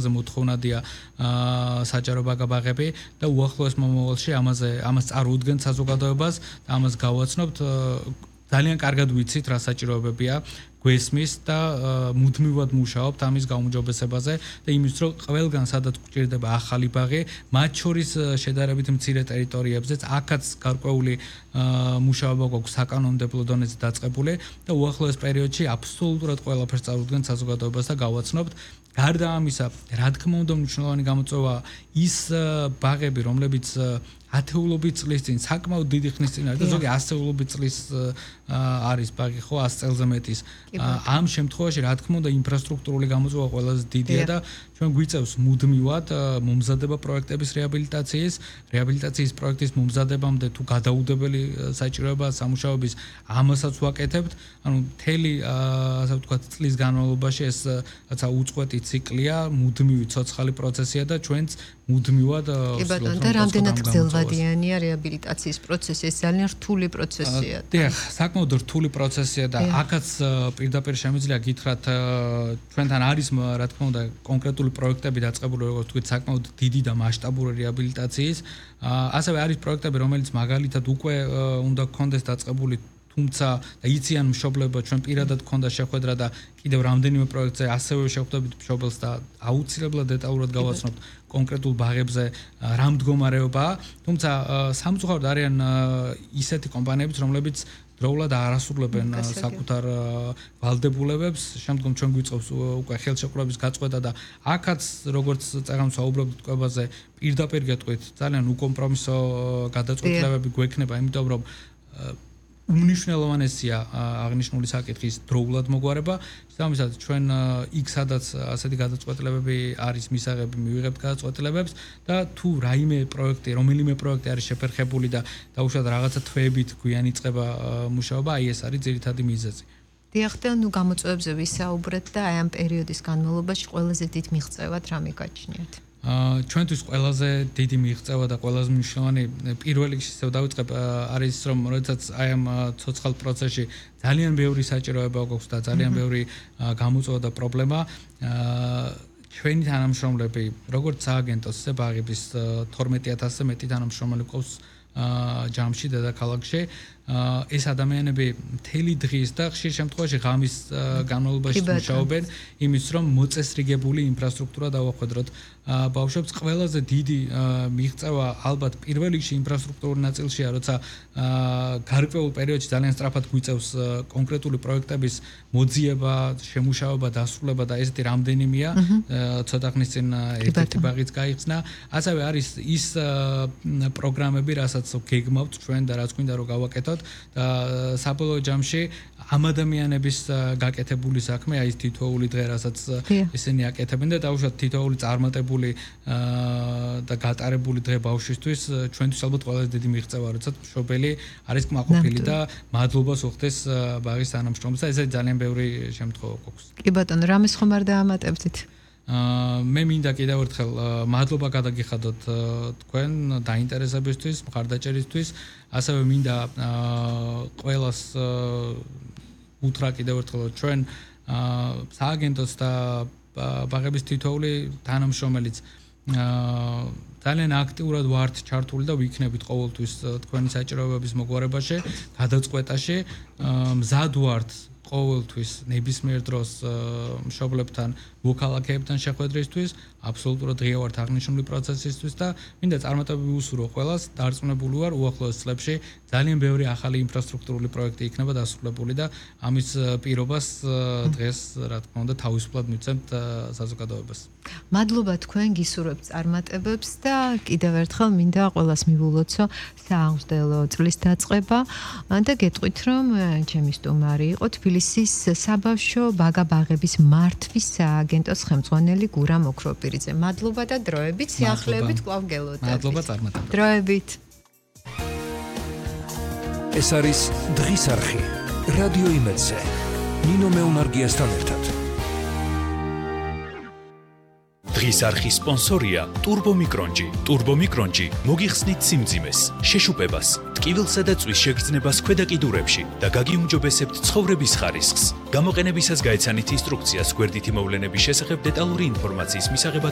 მოთხოვნადია საჯარო ბაგაბაღები და უახლოეს მომავალში ამას წარუდგენთ საზოგადოებას და ამას გავაცნობთ ძალიან კარგად ვიცით რა საჭიროებებია გვესმის და მუდმივად მუშაობთ ამის გაუმჯობესებაზე და იმის რომ ყველგან სადაც გვჭირდება ახალი ბაღი მათ შორის შედარებით მცირე ტერიტორიებზეც აქაც გარკვეული მუშაობა გვაქვს საკანონმდებლო დონეზე დაწყებული და უახლოეს პერიოდში აბსოლუტურად ყველაფერს წარუდგენთ საზოგადოებას და გავაცნობთ გარდა ამისა რა თქმა უნდა მნიშვნელოვანი გამოწვევა ის ბაღები რომლებიც ათეულობით წლის წინ საკმაოდ დიდი ხნის წინ არის და ზოგი ასეულობით წლის არის ბაღი ხო 100 წელზე მეტის ამ შემთხვევაში რა თქმა უნდა ინფრასტრუქტურული გამოწვევა ყველაზე დიდია და ჩვენ გვიწევს მუდმივად მომზადება პროექტების რეაბილიტაციის პროექტის მომზადებამდე თუ გადაუდებელი საჭიროება სამუშაოების ამასაც ვაკეთებთ ანუ მთელი ასე ვთქვათ წლის განმავლობაში ეს რაცა უწყვეტი ციკლია მუდმივი ცოცხალი პროცესია და ჩვენც მუდმივად კი ბატონო და რამდენად გრძელვადიანია რეაბილიტაციის პროცესი ეს ძალიან რთული პროცესია დიახ საკმაოდ რთული პროცესია და აქაც პირდაპირ შემიძლია გითხრათ ჩვენთან არის რა თქმა უნდა კონკრეტული პროექტები დაწყებული როგორც თქვით საკმაოდ დიდი და მასშტაბური რეაბილიტაციის ასევე არის პროექტები რომელიც მაგალითად უკვე უნდა გქონდეს დაწყებული თუმცა იციან მშობლებო ჩვენ პირადად გქონდა შეხვედრა და კიდევ რამდენიმე პროექტზე ასევე შეხვდებით მშობელს და აუცილებლად დეტალურად გავაცნობთ კონკრეტულ ბაღებზე რა მდგომარეობაა თუმცა სამწუხაროდ არიან ისეთი კომპანიებიც რომლებიც დროულად არასრულებენ საკუთარ ვალდებულებებს შემდგომ ჩვენ გვიწყობს უკვე ხელშეკრულების გაწყვეტა და აქაც როგორც წეგანს ვაუბრობთ ტყვებაზე პირდაპირ გეტყვით ძალიან უკომპრომისო გადაწყვეტილებები გვექნება იმიტომ რომ უმნიშვნელოვანესია აღნიშნული საკითხის დროულად მოგვარება შესაბამისად ჩვენ იქ სადაც ასეთი გადაწყვეტილებები არის მისაღები მივიღებთ გადაწყვეტილებებს და თუ რომელიმე პროექტი არის შეფერხებული და დაუშვათ რაღაცა თვეებით გვიან იწყება მუშაობა აი ეს არის ძირითადი მიზეზი დიახ და ნუ გამოწვევებზე ვისაუბრეთ და აი ამ პერიოდის განმავლობაში ყველაზე დიდ მიღწევად რა მიგაჩნიათ ჩვენთვის ყველაზე დიდი მიღწევა და ყველაზე მნიშვნელოვანი პირველ რიგში ისევ დავიწყებ არის რომ როდესაც აი ამ ცოცხალ პროცესში ძალიან ბევრი საჭიროება გვაქვს და ძალიან ბევრი გამოწვევა და პრობლემა ჩვენი თანამშრომლები როგორც სააგენტოს ისე ბაღების 12000-ზე მეტი თანამშრომელი გვყავს ჯამში დედაქალაქში ეს ადამიანები მთელი დღის და ხშირ შემთხვევაში ღამის განმავლობაში მუშაობენ იმის რომ მოწესრიგებული ინფრასტრუქტურა დავახვედროთ ბავშვებს ყველაზე დიდი მიღწევა ალბათ პირველ რიგში ინფრასტრუქტურულ ნაწილშია როცა გარკვეულ პერიოდში ძალიან სწრაფად გვიწევს კონკრეტული პროექტების მოძიება შემუშავება დასრულება და ესეთი რამდენიმეა ცოტა ხნის წინ ერთ-ერთი ბაღიც გაიხსნა ასევე არის ის პროგრამები რასაც გეგმავთ ჩვენ და რაც გვინდა რომ გავაკეთოთ და საბოლოო ჯამში ამ ადამიანების გაკეთებული საქმე აი ეს თითოეული დღე რასაც ისინი აკეთებენ და დაუშვათ თითოეული წარმატებული და გატარებული დღე ბავშვისთვის ჩვენთვის ალბათ ყველაზე დიდი მიღწევა როცა მშობელი არის კმაყოფილი და მადლობას უხდეს ბაღის თანამშრომლებს და ესე ძალიან ბევრი შემთხვევა გვაქვს კი ბატონო რამეს ხომ არ დაამატებდით მე მინდა კიდევ ერთხელ მადლობა გადაგიხადოთ თქვენ დაინტერესებისთვის, მხარდაჭერისთვის, ასევე მინდა ყველას უთხრა კიდევ ერთხელ ჩვენ სააგენტოს და ბაღების თითოეული თანამშრომელიც ძალიან აქტიურად ვართ ჩართული და ვიქნებით ყოველთვის თქვენი საჭიროებების მოგვარებაში, გადაწყვეტაში, მზად ვართ ყოველთვის ნებისმიერ დროს მშობლებთან მოქალაქეებთან შეხვედრისთვის აბსოლუტურად ღია ვართ აღნიშნული პროცესისთვის და მინდა წარმატებები ვუსურვო ყველას დარწმუნებული ვარ უახლოეს წლებში ძალიან ბევრი ახალი ინფრასტრუქტურული პროექტი იქნება დასრულებული და ამის პირობას დღეს რა თქმა უნდა თავისუფლად მივცემთ საზოგადოებას მადლობა თქვენ გისურვებთ წარმატებებს და კიდევ ერთხელ მინდა ყველას მივულოცო სააღმრთელო წლის დაწყება და გეტყვით რომ ჩემი სტუმარი იყო თბილისის საბავშვო ბაგაბაღების მართვის სააგენტოს ხელმძღვანელი გურა მოქროპირიძე. მადლობა და დროებით, სიახლეებით კვლავ გელოდებით. მადლობა წარმატებებს. დროებით. ეს არის დღის არხი. რადიო იმედზე. ნინო მეუნარგიასთან ერთად. დღის არხის სპონსორია ტურბომიკრონჯი. ტურბომიკრონჯი მოგიხსნით სიმძიმეს, შეშუპებას, ტკივილსა და წვის შეგრძნებას ქვედა კიდურებში და გაგიუმჯობესებთ ცხოვრების ხარისხს. გამოყენებისას გაეცანით ინსტრუქციას გვერდითი მოვლენების შესახებ დეტალური ინფორმაციის მისაღებად